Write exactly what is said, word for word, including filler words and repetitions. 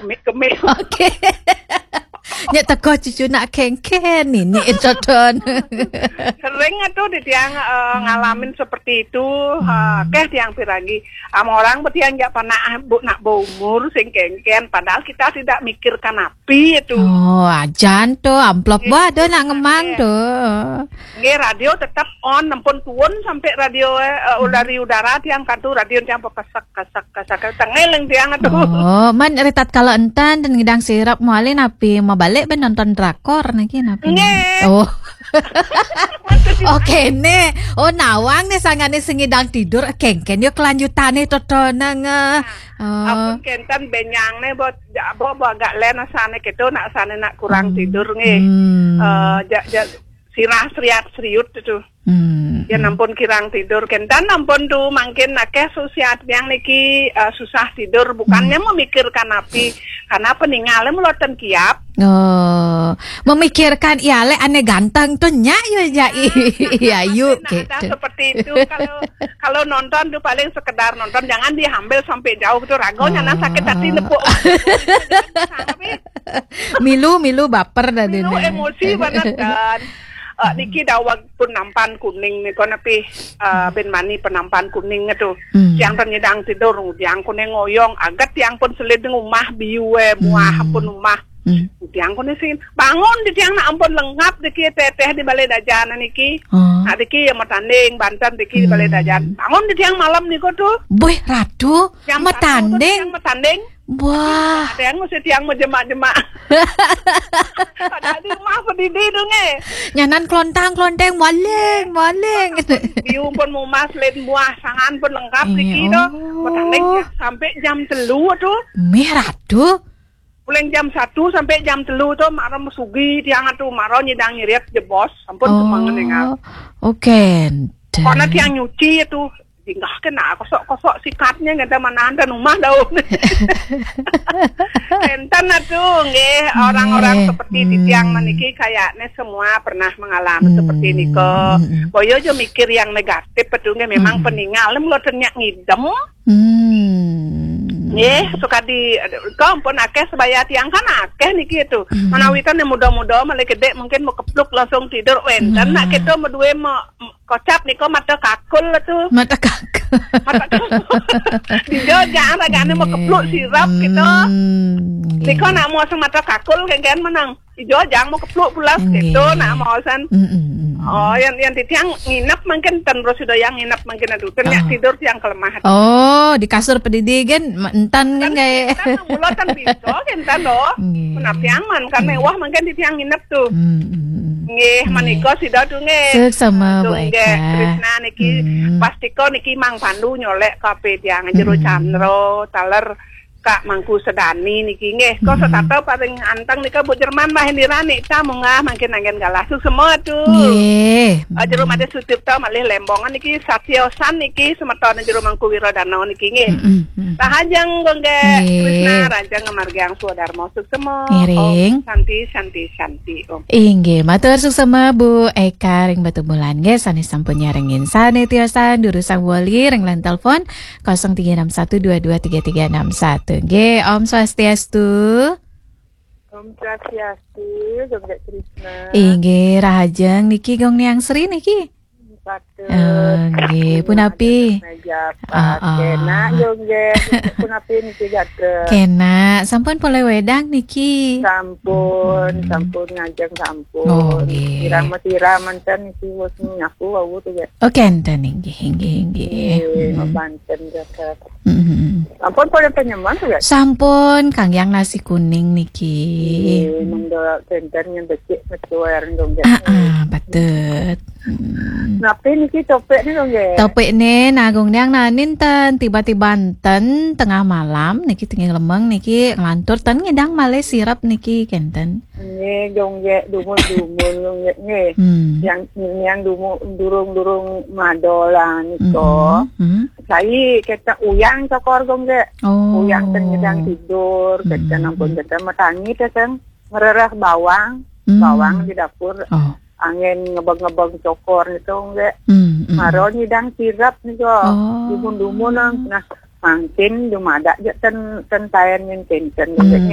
Kemih-kemih. Oke. Nya teko cucu nak kengken ini, Codon. Sering atuh di tiang, eh, ngalamin seperti itu. Eh, keh tiang piragi. Am orang betiang jak panak bu nak umur sing kengken. Padahal kita tidak mikirkan api itu. Oh, ajan tuh amplop ba ada nak ngemang tuh. Nggih, radio tetap on, nempun tuun sampai radio, eh, dari udara tiang kadu radio tiang pepesek, kesek, kesek, kesek, tengeleng tiang atuh. Oh, man ritat kalau enten dan ngidang sirap mualin api mau balik ben nonton drakor niki napi. Nggih. Oh. Oke nih. Oh, nawang nih sangane sing ngidang tidur kengken yo kelanjutane totonang. Oh. Ampun kenten benyang nih buat bo bo agak len asane gitu nak asane nak kurang tidur nggih. Hmm. Eh, ja, ja, sirah seriat seriut itu. Hmm. Ya nampun kirang tidur kenten nampun tuh mangkin akeh susiat yang niki, eh, susah tidur bukannya memikirkan api karena peninggalnya meloten kiap. Oh, memikirkan ya le ane ganteng tuh nyak yo jai. Ya yuk nah, ada gitu. Seperti itu kalau kalau nonton tuh paling sekedar nonton jangan diambil sampai jauh tuh ragonya nah sakit hati nepuk. Tapi Milu, milu baper dah milu dia. Emosi banget kan. Eh, niki dawag pun nampan kuning nih kono pi eh, ben mani penampan kuning itu. Hmm. Tiang ternyidang tidur, tiang kuning ngoyong, agat tiang pun selid ngumah biu eh, muah pun umah. Hmm. Tiang kuning sing bangun di tiang nak ampun lengkap diki teteh di balai dajan niki. Oh. Nak diki ya mau tanding banten diki di balai dajan. Bangun di tiang malam niku tuh. Boy, ratu, yang mau tanding. Yang mau tanding. Wah. Ada yang mesti tiang mau jemak-jemak. Padahal di rumah pedidi dong eh. Nyanan kelontang kelonteng maling maling. Biu pun mau mas lain buah sangan pun lengkap di kino. Oh. Petanding sampai jam telu tuh. Merah tuh. Mulai jam satu sampai jam telu tuh marom sugi tiang tuh marom nyidang ngirit jebos. Ampun oh. Semangat dengar. Oke. Karena tiang nyuci itu Jinggah kena kosok-kosok sikatnya ngada mana anda rumah daun. Enten atuh nggih orang-orang seperti di tiang maniki kayaknya semua pernah mengalami seperti niko. Boyo aja mikir yang negatif betul nggih memang peninggal mula ternyata ngidem. Hmm. Nggih, suka di kau pun akeh sebaya tiang kan akeh niki itu. Manawitan yang muda-muda malah gede mungkin mau kepluk langsung tidur wenten nak kita mau dua mau kocap niko mata kakul tuh. Mata kakul. Mata kakul. Di Jogja ragane mau kepluk sirap gitu. Niko nak mau sang mata kakul kan menang. Di Jogja mau kepluk pulas gitu nak mau san. Oh, yang yang di tiang nginep mungkin ten bro sudah yang nginep mungkin aduh. Ternyata tidur tiang kelemah. Oh, di kasur pedidi kan entan kan kayak. Mulo tan bisa kan tan loh. Menap tiang man kan mewah mungkin di tiang nginep tuh. Nggih, menika sida tuh nggih. Suksma Bu Eka. Krisna niki pastika niki Mang Pandu nyolek kape tiang jero Chandra taler Kak Mangku Sedani niki nggih. Kok setata paling anteng nika Bu Jerman Mbah Indira nika munggah mangkin anggen galah suksma tuh. Nggih. Jero Made Sutirta malih Lembongan niki Satyosan niki semeton jero Mangku Wiradana niki nggih. Rahajeng Gongge Krisna rajeng ngamargiang swadarma suksma. Ngiring. Santi santi santi. Inggih, matur suksma Bu Eka ring Batubulan nggih sané sampun nyarengin sané tiosan durusang wali ring line telepon kosong tiga enam satu dua dua tiga tiga enam satu. Nggih, Om Swastiastu. Om Swastiastu, Gongge Krisna. Inggih, rahajeng niki Gong Niang Sri niki. Patut. Eh, nggih, punapi? Meja Ah, ah. Kena yo nggih. Punapi niki jaga. Kena, sampun polih wedang niki. Sampun, sampun ngajeng sampun. Oh, nggih. Sira-sira manten niki wis nyapu wau tuh ya. Oh, kenten inggih, inggih, inggih. Nggih, mabanten jaga. Sampun polih penyeman tuh ya. Sampun kanggiang nasi kuning niki. Nggih, mendol kenten yang becik metuar dong ya. Ah, ah, patut. Napi niki topik ni dong ya? Topik ni nagung niang nanin ten tiba-tiba enten tengah malam niki tengah lemeng niki ngelantur ten ngidang malih sirap niki kenten. Nggih, dong ya dumun-dumun dong ya nggih. Yang yang dumun durung-durung madola niko. Sai kita uyang cokor dong ya. Oh. Uyang ten ngidang tidur, kita nampun kita matangi kita ngerereh bawang, bawang di dapur. Oh. Angin ngebeng-ngebeng cokor nitu nggih. Hmm, hmm. Maro nyidang sirap niku. Oh. Dumun-dumun nah. Nah, mangkin dumadak ja ten ten taen nyen kenten nggih. Hmm,